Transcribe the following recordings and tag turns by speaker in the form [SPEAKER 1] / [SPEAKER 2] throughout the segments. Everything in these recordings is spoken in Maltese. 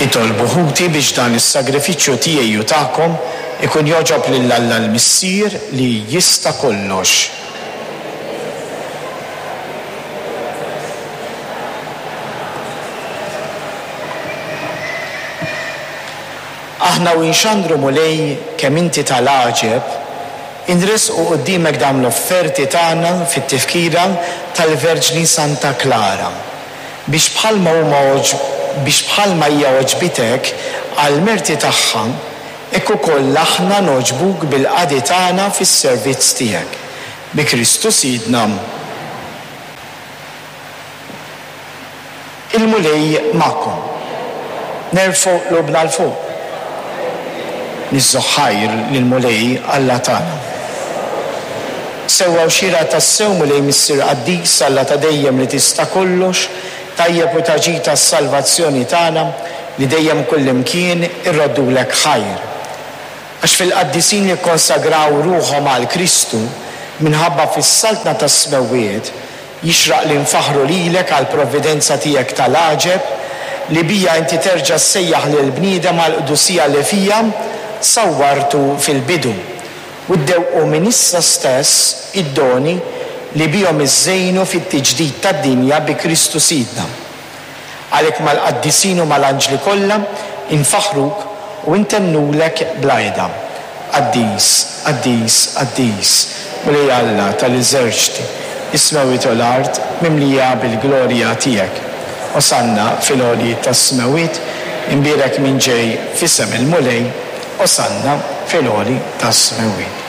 [SPEAKER 1] Itolbu ħuti biex dan is-sagrifiċċju tiegħi u tagħkom ikun jogħġob lil Alla l-Missier li jista' kollox. Aħna u nxandru Mulej kemm inti tal-għaġeb, inressqu quddiemek dawn l-offerti tagħna fit-tifkira tal-Verġni Santa Klara, biex bħalma huma biex bħalma hija għoġbitek għall-merti tagħha, hekk ukoll aħna nogħġbuk bil-qadi tagħna fis-servizz tiegħek. Bi Kristu Sidna. Il-Mulej magħkom. Nerfgħu qlubna 'l fuq. Niżżu ħajr lill-Mulej Alla tagħna. Sewwa u xieraq tassew, Mulej Missier qaddis, Alla ta' dejjem li tista' kollox, tajjeb u ta' ġid għas-salvazzjoni tagħna, li dejjem kullimkien irroddulek ħajr. Għax fil-qaddisin li kkonsagraw ruħhom għal Kristu, minħabba fis-saltna tas-smewwiet, Jixraq li nfaħħru lilek għall-provvidenza tiegħek ta' l-għaġeb, li biha inti terġa' ssejjaħ lill-bniedem għall-qdusija li fiha sawwartu fil-bidu, u ddewqu minn issa stess id-doni li bihom iżżejnu fit-tiġdid tad-dinja bi Kristu Sidna. Għalhekk mal-qaddisin u mal-anġli kollha infaħħruk u intennulek bla heda, Qaddis, qaddis, qaddis, Mulej Alla tal-eżerċti, is-smewwiet u l-art mimlija bil-glorja tiegħek. Osanna fil-għoljiet tas-smewwiet, imbierek min ġej f'isem il-Mulej, Osanna fil-għoli tas-smewwiet.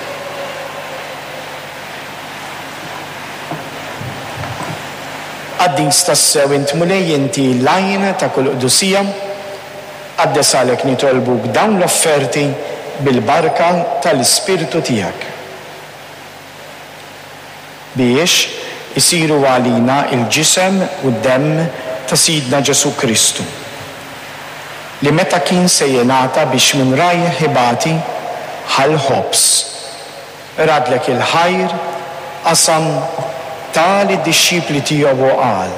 [SPEAKER 1] Qaddis tassew int Mulej inti l-għajn ta' kull qdusija, qaddes għalhekk nitolbuk dawn l-offerti bil-barka tal-Ispirtu tiegħek. Biex isiru għalina l-ġisem u d-demm ta' Sidna Ġesù Kristu, li meta kien se jingħata biex minn rajh ibati, ħa l-ħobż, Radlek il-ħajr, qasam, ta lid-dixxipli tiegħu u qal,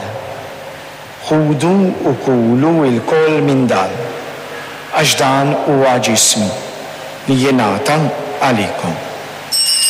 [SPEAKER 1] Ħudu u kulu lkoll minn dan, għax dan huwa ġismi, li jingħata għalikom.